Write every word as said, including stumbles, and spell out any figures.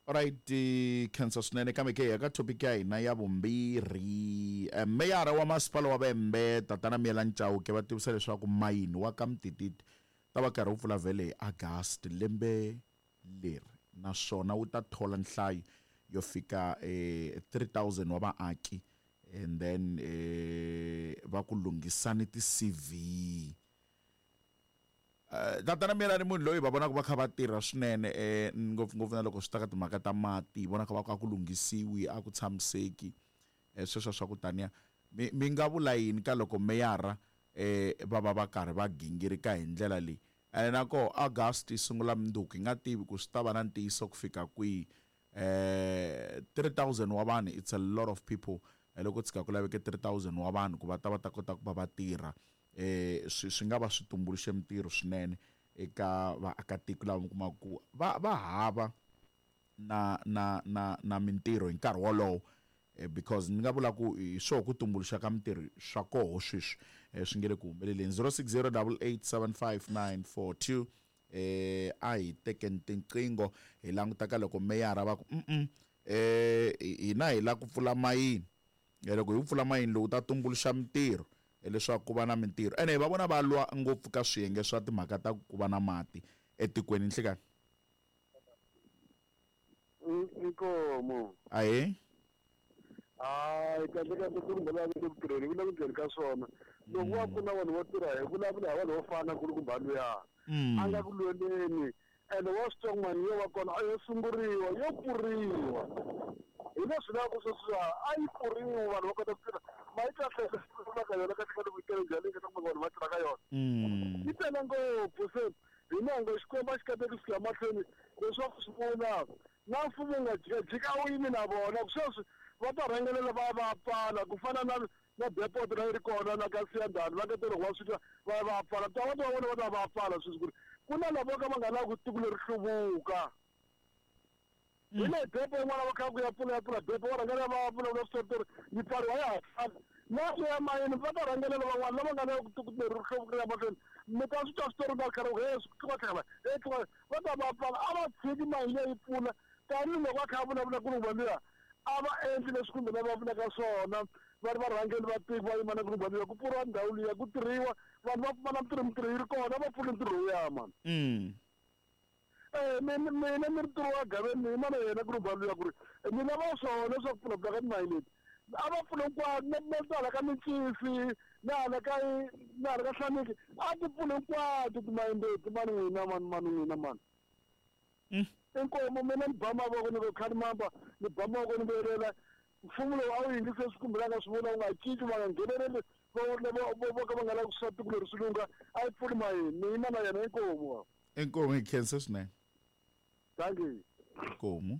Alright, khensa swinene kambe ke eka topic ya hina ya vumbirhi. Meyara wa masipala wa Vhembe Tatana Miyelani Chauke va tivisa leswaku mayini wa ka Mtititi ta va karhi wu pfula vhele hi August lembe leri, naswona wu ta thola nhlayo yo fika eh, three thousand wa vaaki, and then eh, va ku lunghisani ti-C V. Uh, Tatana Miyelani munhu loyi va vonaka va kha va tirha swinene, eh, ngopfungopfu na loko swi ta ka timhaka ta mati, hi vonaka va ku a ku lunghisiwi, a ku tshamiseki, eh, sweswo swa ku taniya. Mi, mi nga vula yini ka loko meyara, eh, va va va karhi va gingirika hi ndlela leyi? Ene na koho August yi sungula mundzuku, hi nga tivi ku swi ta va na ntiyiso ku fika kwihi. Eh, three thousand wa vanhu, it's a lot of people. Eh, loko tshika ku laveke three thousand wa vanhu ku va ta va ta kota ku va va tirha, eh, swi, swi nga va swi tumbuluxe mintirho swinene eka vaakatiko lava mi kumaka ku va, va hava na, na, na, na mintirho hi nkarhi wolowo. Eh, because ni nga vula ku hi swoho ku tumbuluxa ka mintirho swa koho sweswi, eh, swi nge le ku humeleleni. zero six zero double eight seven five nine four two. Eh, a hi tekeni tinqingho hi languta ka loko meyara va ku, mm-mm, eh, hina hi lava ku pfula mayini. Eh, loko hi pfula mayini lowu ta tumbuluxa mintirho, leswaku ku va na mintirho. Ene va vona va lwa ngopfu ka swiyenge swa timhaka ta ku va na mati etikweni. Nhlikani. Inkomo. Ahee. Hayi, kahle kahle ku ri va le ku tirheni, ku le ku tirheni ka swona. Loko va pfuna vanhu vo tirha, hi vulavula hi vanhu vo fana ku ri ku luya. A nga ku lweleni. Ene wa swi twa ku mali yo va kona a yo sunguriwa, yo pfuriwa. Hi leswi lavaka ku sweswiwa, a yi pfuriwa vanhu va kota ku tirha. Mali kahle kahle ka yona, kahle kahle ku yi tele njhani, leyi nga ta kuma vanhu va tirha ka yona. Yi tele ngopfu, se hi nango Xikwembu a xi kateki swi ya mahlweni leswaku swi vula na mfumo wu nga jikajiki a wu yimi na vona. Sweswi va ta rhangelela va va pfala ku fana na, na depot leyi ri kona la ka Siyandhani, va nga ta loko va swi twa va ya va pfala. Ta va ta vona va ta va pfala sweswi ku ri ku na lava ka va nga lavi ku tiko leri hluvuka. Hi le depo yin'wana va kha ku ya pfula ya pfula depo, va rhangelela va vulavula switori yi pfariwa ya ha pfali. Na le ya mayini va ta rhangelela van'wana lava nga lavi ku tiko leri hluvuka ri ya mahlweni. Mi ta swi twa switori va karhi ku, he, swi tluka tlhela, he, tluka, va ta va pfala. A va tshiki mayini leyi pfula. Tanihiloko va kha va vulavula ku ri luya, a va endli leswi kumbe lava va vulaka swona, va ri varhangeri va tiko va yima na ku ri luya, ku pfuriwa ndhawu liya, ku tirhiwa, vanhu va pfumala mintirho, mintirho yi ri kona, va pfuli ntirho lowuya, mani. Mm. Eh, mina, mina ni ri ntirho wa Gaveni, ni yima na yena ku ri luya ku ri, ni lava swona leswaku pfula pfula ka timayini leti. A va pfuli hinkwato, na, na hala ka Mincisi, na hala ka, na hala ka Hlaniki, a ti pfuli hinkwato timayini leti, mani n'wina, mani, mani n'wina, mani. Mm. Inkomo, mina ni ba mavoko ni ku khalimamba, ni ba mavoko ni vuyelela. Mfumo lowu a wu yingisi leswi kumbelaka swi vula, wu nga cinci, va nga ngheneleli, va, va, va, va, vo ka va nga lavi ku swa tiko leri swi lungha, a yi pfuli mayini. Ni yima na yena, inkomo. Inkomo, hi khensa swinene. Thank you. Inkomo.